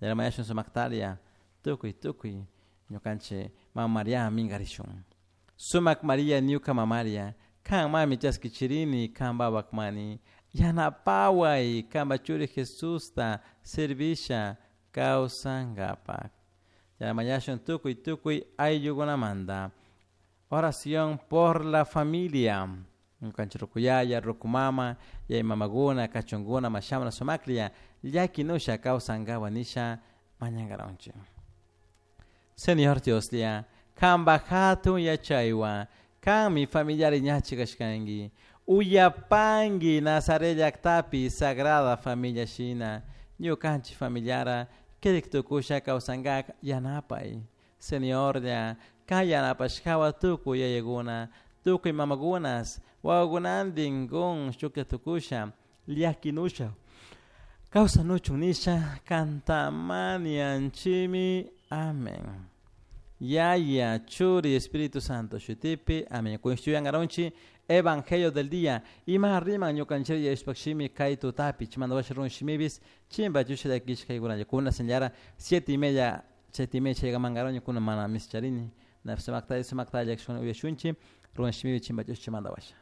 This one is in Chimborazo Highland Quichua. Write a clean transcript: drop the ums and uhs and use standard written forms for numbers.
Mañashun sumaktaria tukuy tukuy ñukanchik mama Maria minkarishun. Sumak Maria ñuka mamaria kan mami chaskichirini kan babakmani yanapaway kanpa churi Jesusta servisha kawsankapak. Mañashun tukuy tukuy ayllukunamanta. Oración por la familia. Ñukanchik rukuyaya, rukumama, yaya mamakuna, kachunkuna, mashamana sumaklla llakinusha kawsankapak nisha mañankaranchik. Señor Dioslla, kanpa hatun yachaywan, kanmi familiari ñachi kashkanki. Uyapanki Nazaret llaktapi Sagrada Familia shina, ñukanchik familiara kirik tukusha kawsankak yanapay. Señorlla, kay yanapashkawan tukuy yayakuna, tukuy mamakunas, wawakunantin kun shuklla tukusha, llakinusha kawsanuchun nisha kantamanianchimi. Amén. Yaya, Churi, Espíritu Santo, shutipi, amén. Kunshuyangarunchi, Evangelio del día. Ima riman ñukanchik yashpakshimi kay tutapi, chimanda washa run shimibis, chimba chusha llakishka kuna señora 7:30, 7:30 chaykamankaron kuna mana mischarini. Na sumakta sumakta llakshun uyashunchi, run shimibi chimba chusha chimanda washa.